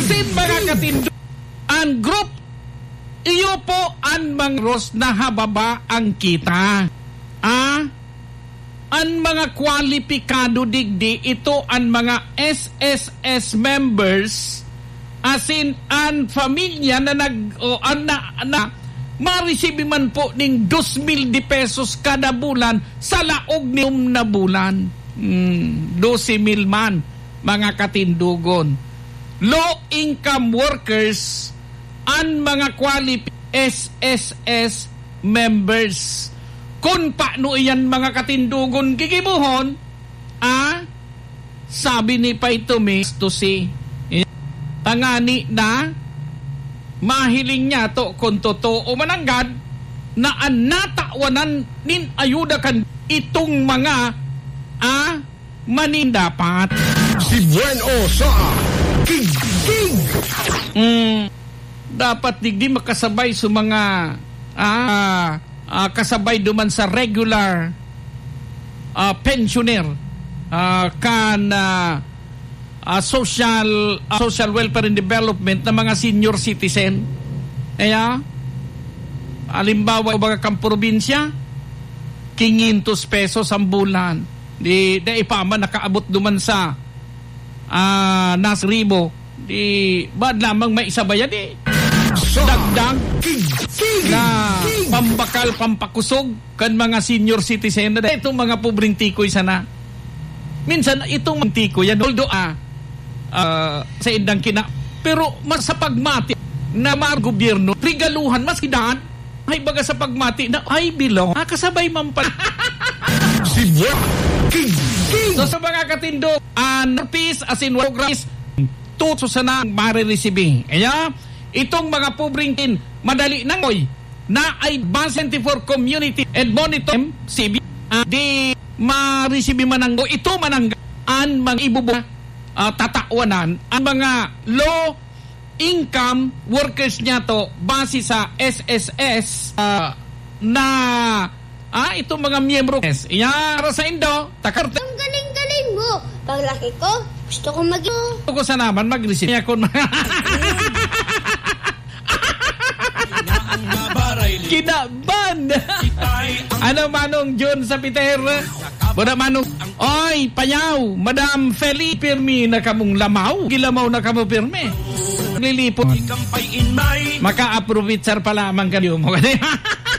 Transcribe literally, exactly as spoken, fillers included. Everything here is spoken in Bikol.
Sin mga katindo, ang group, iyo po ang mga ros na hababa ang kita. Ah? Ang mga kwalipikado digdi, ito ang mga S S S members, asin an pamilya na nag-, o an na, na maresibi man po ning dos mil de pesos kada bulan sa laog nin na bulan. Hmm, dose mil man, mga katindogon. Low income workers, an mga qualif-, S S S members. Kun paano iyan, mga katindogon, gigibohon, ah, sabi ni Pay Tomy, to si, tangani na, mahiling niya to kung totoo mananggad na an natawanan nin ayuda kan itong mga, ah, manindapat. Si Buen O sa Kigkig. Mm, dapat digdi makasabay sa mga, ah, ah, kasabay duman sa regular, ah, pensioner, ah, kan, ah, ah, social, ah, social welfare and development na mga senior citizen. Kaya, halimbawa, baga kan probinsya, quinientos pesos ang bulan. Di, di pa man nakaabot duman sa, ah, nas ribo. Di, baad lamang may isa ba yan, eh? Sa Dagdag Kigkig. Na pambakal, pampakusog kan mga senior citizen na itong mga pobreng tikoy sana. Minsan, itong mga tikoy yan, although, ah, ah, sa indang kina-, pero mas sa pagmati na mga gobyerno, regaluhan, mas hidan, ay baga sa pagmati na, ay, bilong. Ah, kasabay man pala. Si Buwak Kigkig. So, sa mga katindo, ah, Northeast, as in, Progress, tuto sana ang mariresibi. Kaya, itong mga pobreng tin, madali nang, oy, na ay Base twenty-four Community and Monitor, M C B, ah, di maresibi man ang, o ito man ang, ang mga ibubu-, ah, tatawanan, ang mga low income workers niya to base sa S S S, ah, na, ah, itong mga miyembro. Yes. Iya, para sa Indo, takar- Ang galing-galing mo. Paglaki ko, gusto ko maging Gusto ko sana man mag-receive niya kung Kinaban! Ano, Manong John sa Peter? Buda, Manong. Oy, payaw, Madam Feli, pirmi na kamong lamaw. Gilamaw na kamo pirmi. Lilipot. Maka-aprovechar pa lamang kayo mo.